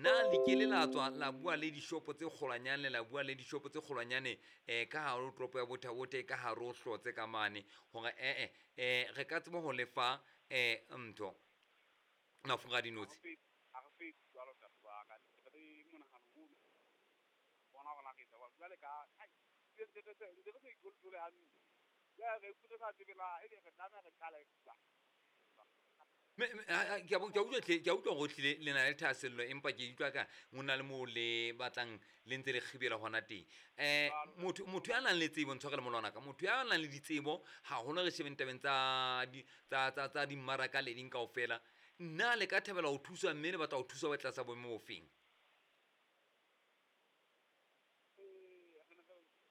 Na le ke le la tswa la bua le dishopo tse kgolwanyane, la bua le dishopo tse kgolwanyane ka hare ho toropo ya Botha-Bothe, ka hare ho Hlotse ka mane, hore ee re ka tseba ho lefa ntho mafura a dinotshi? Ha re fetse jwalo ntate wa ka, re le monahano ono bona hore na re etsa jwang. Jwale ka ntse re sa ithole hantle, jwale re re sa tsebe na ebe re tlameha re qale jwang. Ke a utlwa hle, ke a utlwa hore hlile le na le thahasello, empa ke utlwa ka ho na le moo le batlang le ntse le kgibela hona teng. Motho ya nang le tsebo, ntshwarele molwana ka, motho ya nang le ditsebo haholo re shebeng tabeng tsa dimmaraka le ding kaofela, nna le ka thabela ho thuswa, mme le batla ho thuswa ba tlasa boemo bofeng?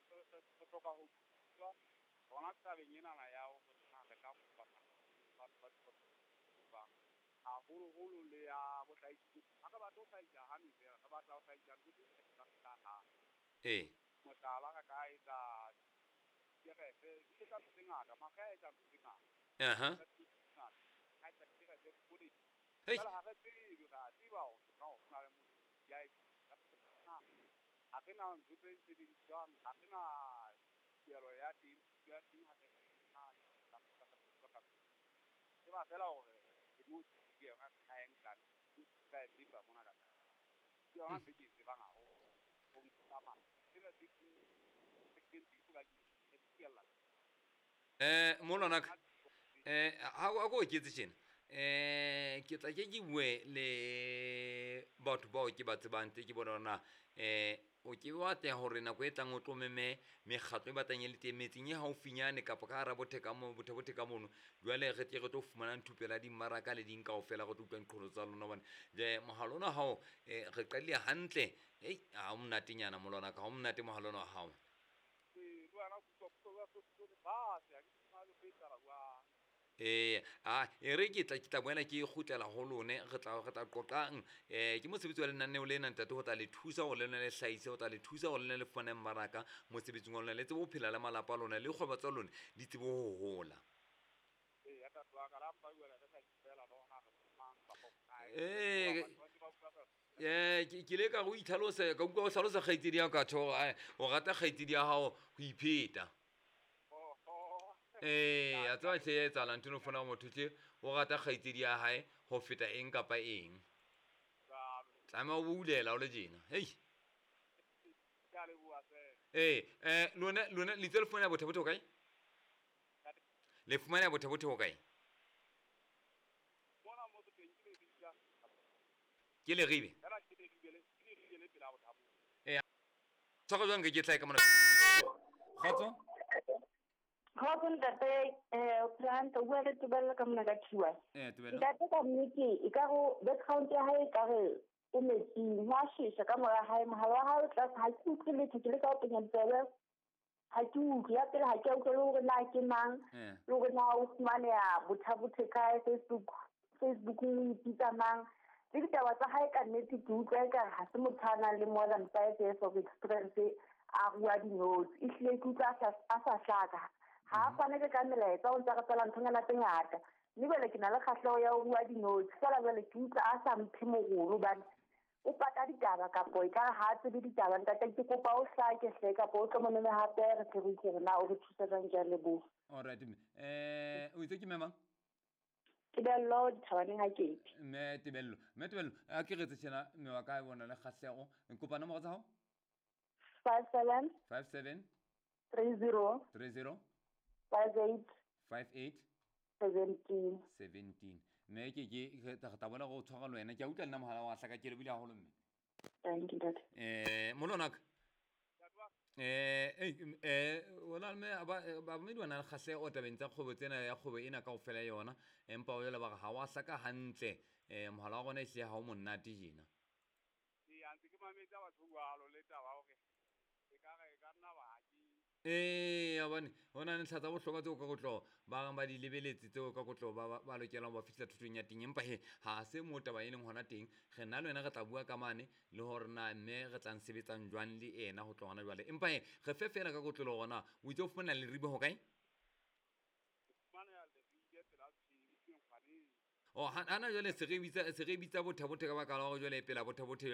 Re hloka ho thuswa hona tabeng enana ya hore na re ka kopa batho ba haholoholo le ya bohlahisi. Ha re batle ho hlahisa honey feela, re batla ho hlahisa ntho tse ngata. Mohlala, re ka etsa dikerese, di etsa ntho tse ngata, makge a etsa ntho tse ngata. A etsa dikerese, poone. Jwale ha re tsebe, re a tseba hore ho na le motho ya ha re na ntho tse sebediswang, ha re na kelo ya teng, ya teng ha re tseba fela hore ke mo ke yona ka e nkang ka e tseba mona ka ke yona ntho e ke e tsebang haholo. Ho tsamaya tsena tse ke ntse ke ke fiela. Molwana ka ha ko oketse tjena, ke tla ke bue le batho bao ke ba tsebang, tse ke bona hore na o ke wa atleha hore nako e tlang o tlo meme mekgatlo e batlang e le teng metseng e haufinyane kapa ka hara Bothe ka mo, Botha-Bothe ka mono. Jwale re tle re tlo fumana thupelo ya dimmaraka le ding kaofela, re tlo utlwa diqholotso tsa lona, hobane jwale mohala ona hao re qadile hantle. Hei, ha o monatenyana molwana ka, ha o monate mohala ona wa hao. E re ke tla boela ke kgutlela ho lone, re tla qoqang. Ke mosebetsi wa lenaneo lena ntate, ho tla le thusa hore le lona le hlahise, ho tla le thusa hore le lona le fumane mmaraka mosebetsing wa lona, le tsebe ho phela le malapa a lona, le kgwebo tsa lona di tsebe ho hola. Ke ile ka re o itlhalose, ka utlwa o hlalosa kgaitsedi ya ka tjho hore o rata kgaitsedi ya hao ho ipheta. A tseba hle ya etsahala ntho eno, fona motho hle o rata kgaitsedi ya hae ho feta eng kapa eng. Tlameha o boulela o le tjena. Hei. Lona le itse le fumana Botha-Bothe ho kae? Le fumana Botha-Bothe ho kae? Ke Leribe. Tshwara jwang ke tla ka mona. Kgotso? Kgotso ntate, o bua le Tebello ka mona ka Thiwa. Tebello. Ntate ka nnete e ka re background ya hae e ka re o metsing, ho a shesha ka mora hae, mohala wa hae o tlase, ha ke utlwe letho, ke leka ho penya ditsebe, ha ke utlwe. Ya pele ha ke a utlwa le hore na ke mang, le hore na o fumaneha Botha-Bothe kae, Facebook o ipitsa mang. Le ditaba tsa hae ka nnete ke utlwa ekare ha se motho a nang le more than 5 years of experience a rua dinotshi. Ehlile ke utlwa a sa hlaka. Ha a fane ka melaetsa, o ntse a re tswela nthonyana tse ngata. Mme jwale ke na le kgahleho ya ho rua dinotshi, feela jwale ke utlwa a sa mphe morolo hobane o pata ditaba kapo ekare ha a tsebe ditaba. Ntate ke kopa o hlake hle, kapo o tlo mo meme hape re tle re utlwe hore na o re thusa jwang. Ke a leboha. All right, mme. O itse ke mme mang? Tebello Dithabaneng ha Kete. Mme Tebello. Mme Tebello, a ke re tjena mme wa ka bona le kgahleho. Nkopa nomoro tsa hao? 57 57 30 30 58 58 17 17. Mme ke re tla bona go tshwara le wena. Ke a utlwa nna mohala wa hlaka, ke lebile haholo mme. Thank you, ntate. Molwana ka. Ona mme ba mme di na le kgahleho tabeng tsa kgwebo tsena, ya kgwebo ena kaofela yona, empa o jwale ba re ha wa hlaka hantle. Mohala wa rona ehlile ha o monate tjena. Ee, ntse ke mametse batho jwalo le taba hore e ka re ka nna ba ke Hobane ho na le ntlha tsa bohlokwa tseo ka kotloho ba reng ba di lebeletse, tseo ka kotloho ba lokelang ho ba fihla thutong ya teng. Empa he ha se moo taba e leng hona teng. Re nna le wena re tla bua ka mane le hore na mme re tlang sebetsang jwang le ena ho tloha hona jwale. Empa he re fe feela ka kotloho hore na o itse o fumana Leribe ho kae? Oh, hana jwale se re bitsa Botha-Bothe ka baka la hore jwale pela Botha-Bothe.